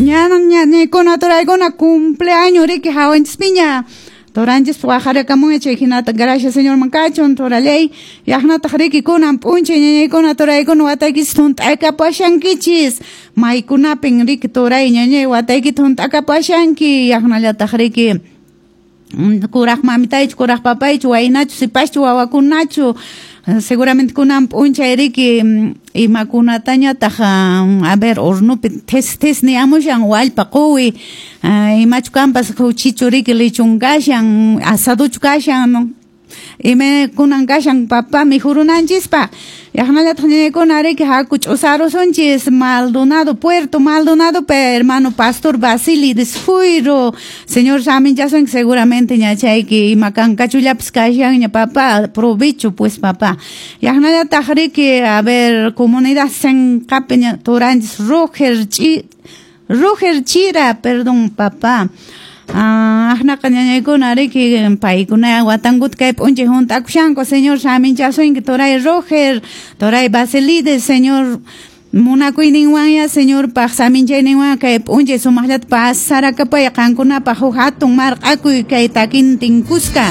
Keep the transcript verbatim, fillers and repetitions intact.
Ñañañaykuna turaykuna cumpleaños riki hawanchispiña turanchis waqarakamunña chay hinata gracias Señorman kachun turallay yaqnataq riki kunan p'unchay ñañaykuna turaykuna wataykichis hunt'akapashankichis maykunapin riki turay ñañay wataykita hunt'akapashanki yaqnallataq riki kuraq mamitaychu kuraq papaychu waynachu sipaschu wawakunachu seguramente kunan p'unchay riki imakunatañataq a ver hornopi this this niyamushan wallpa quwi imachu kanpas khuchichu riki lechón kashan asaduchu kashan ima kunan kashan papá mikhurunanchispaq yaqnallataq ñañaykuna riki haku ch'usarusunchis Maldonado Puerto Maldonado pe hermano pastor Basilides Fuiro señor saminchasunki seguramente ñachayki ima kankachullapis kashanña papá provecho pues papá yaqnallataq riki a ver comunidad Senqapi turanchis Roger Chi Roger Chira perdón papá Aqnaqa ñañaykuna riki paykuna watankuta kay p'unchay hunt'akushanku señor saminchasunki turay Roger turay Basilides señor munakuyninwanya señorpaq saminchayninwan kay p'unchay sumaqllata pasarakapay qankunapaq huk hatun marq'akuy kay takintin kuska.